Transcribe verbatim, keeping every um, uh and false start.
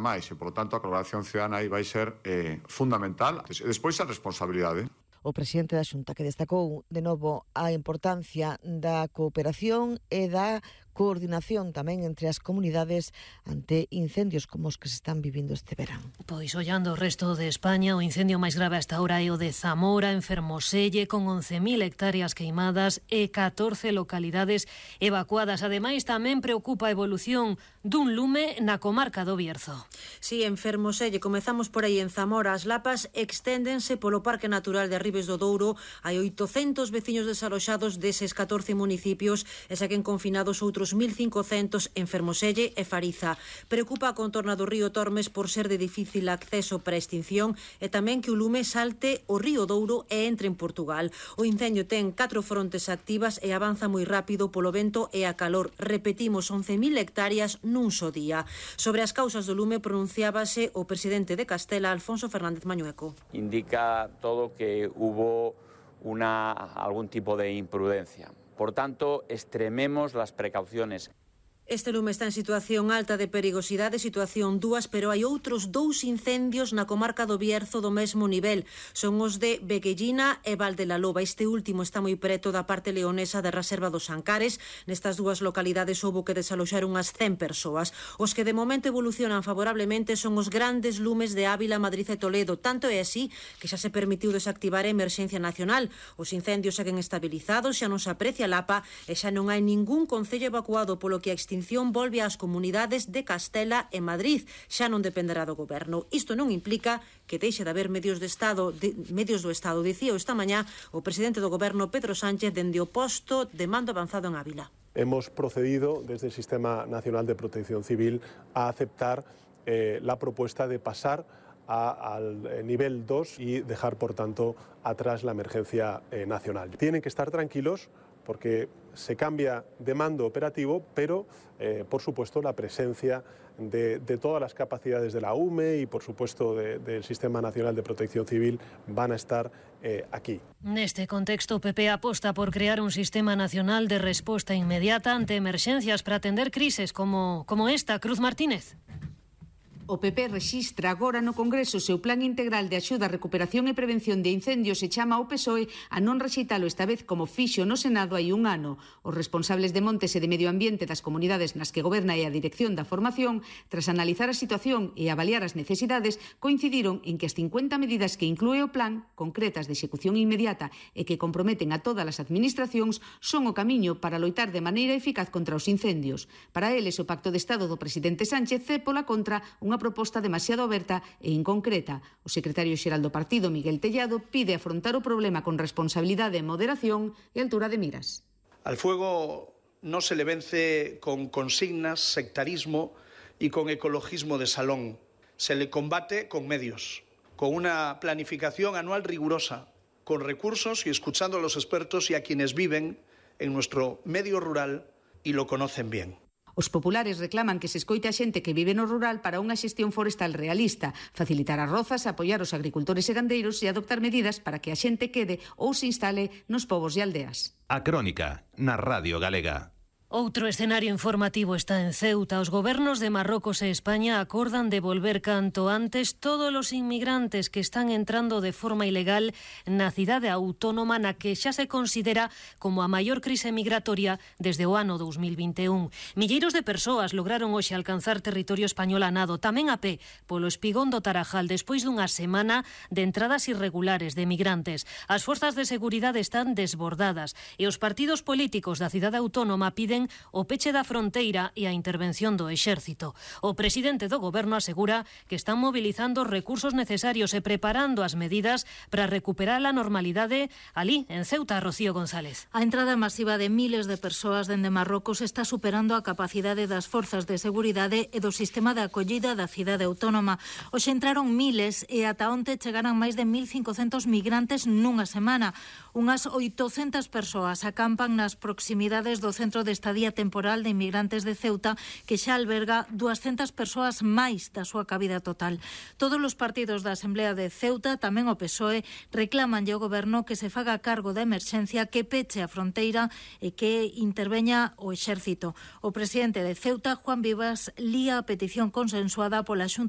máis e, polo tanto, a colaboración cidadana aí vai ser eh, fundamental. E despois a responsabilidade. O presidente da Xunta que destacou de novo a importancia da cooperación e da coordinación tamén entre as comunidades ante incendios como os que se están vivindo este verán. Pois ollando o resto de España, o incendio máis grave hasta ahora é o de Zamora, en Fermoselle, con once mil hectáreas queimadas e catorce localidades evacuadas. Ademais, tamén preocupa a evolución dun lume na comarca do Bierzo. Si, en Fermoselle, comezamos por aí en Zamora, as lapas exténdense polo Parque Natural de Ribes do Douro. Hai oitocentos veciños desaloxados deses catorce municipios e seguen confinados outros mil cincocentos en Fermoselle e Fariza. Preocupa a contorna do río Tormes por ser de difícil acceso para a extinción e tamén que o lume salte o río Douro e entre en Portugal. O incendio ten catro frontes activas e avanza moi rápido polo vento e a calor. Repetimos, once mil hectáreas nun só día. Sobre as causas do lume pronunciábase o presidente de Castela, Alfonso Fernández Mañueco. Indica todo que hubo una, algún tipo de imprudencia. Por tanto, extrememos las precauciones. Este lume está en situación alta de perigosidade, situación dúas, pero hai outros dous incendios na comarca do Bierzo do mesmo nivel. Son os de Beguellina e Valdelaloba. Este último está moi preto da parte leonesa da Reserva dos Ancares. Nestas dúas localidades houbo que desaloxar unhas cen persoas. Os que de momento evolucionan favorablemente son os grandes lumes de Ávila, Madrid e Toledo. Tanto é así que xa se permitiu desactivar a emerxencia nacional. Os incendios seguen estabilizados, xa non se aprecia lapa e xa non hai ningún concello evacuado, polo que a extinción volve ás comunidades de Castela e Madrid. Xa non dependerá do goberno. Isto non implica que deixe de haber medios de Estado, de, medios do Estado. Dicía esta mañá o presidente do goberno, Pedro Sánchez, dende o posto de mando avanzado en Ávila. Hemos procedido desde el Sistema Nacional de Protección Civil a aceptar eh, la propuesta de pasar a, al nivel dos y dejar, por tanto, atrás la emergencia eh, nacional. Tienen que estar tranquilos porque se cambia de mando operativo, pero, eh, por supuesto, la presencia de, de todas las capacidades de la U M E y, por supuesto, de, del Sistema Nacional de Protección Civil van a estar eh, aquí. Neste contexto, o P P aposta por crear un sistema nacional de resposta inmediata ante emerxencias para atender crises como, como esta. Cruz Martínez. O P P rexistra agora no Congreso o seu plan integral de axuda, recuperación e prevención de incendios e chama ao P S O E a non rexeitalo esta vez como fixo no Senado hai un ano. Os responsables de Montes e de Medio Ambiente das comunidades nas que goberna e a dirección da formación, tras analizar a situación e avaliar as necesidades, coincidiron en que as cincuenta medidas que inclúe o plan, concretas de execución inmediata e que comprometen a todas as administracións, son o camiño para loitar de maneira eficaz contra os incendios. Para eles, o Pacto de Estado do presidente Sánchez é, pola contra, unha proposta demasiado aberta e inconcreta. O secretario xeral do partido, Miguel Tellado, pide afrontar o problema con responsabilidade, moderación e altura de miras. Al fuego no se le vence con consignas, sectarismo y con ecologismo de salón. Se le combate con medios, con una planificación anual rigurosa, con recursos y escuchando a los expertos y a quienes viven en nuestro medio rural y lo conocen bien. Os populares reclaman que se escoite a xente que vive no rural para unha xestión forestal realista, facilitar as rozas, apoiar os agricultores e gandeiros e adoptar medidas para que a xente quede ou se instale nos povos e aldeas. A Crónica, na Radio Galega. Outro escenario informativo está en Ceuta. Os gobernos de Marrocos e España acordan devolver canto antes todos os inmigrantes que están entrando de forma ilegal na cidade autónoma na que xa se considera como a maior crise migratoria desde o ano dos mil vinte e un. Milleiros de persoas lograron hoxe alcanzar territorio español a nado, tamén a pé, polo espigón do Tarajal, despois dunha semana de entradas irregulares de migrantes. As forzas de seguridade están desbordadas e os partidos políticos da cidade autónoma piden o peche da fronteira e a intervención do exército. O presidente do goberno asegura que están mobilizando os recursos necesarios e preparando as medidas para recuperar a normalidade alí, en Ceuta. Rocío González. A entrada masiva de miles de persoas dende Marrocos está superando a capacidade das forzas de seguridade e do sistema de acollida da cidade autónoma. Hoxe entraron miles e ata onte chegaran máis de mil cincocentos migrantes nunha semana. Unhas oitocentas persoas acampan nas proximidades do centro de estadía temporal de inmigrantes de Ceuta, que xa alberga duascentas persoas máis da súa cabida total. Todos os partidos da Asamblea de Ceuta, tamén o P S O E, reclaman ao goberno que se faga cargo da emerxencia, que peche a fronteira e que interveña o exército. O presidente de Ceuta, Juan Vivas, lía a petición consensuada pola Xunta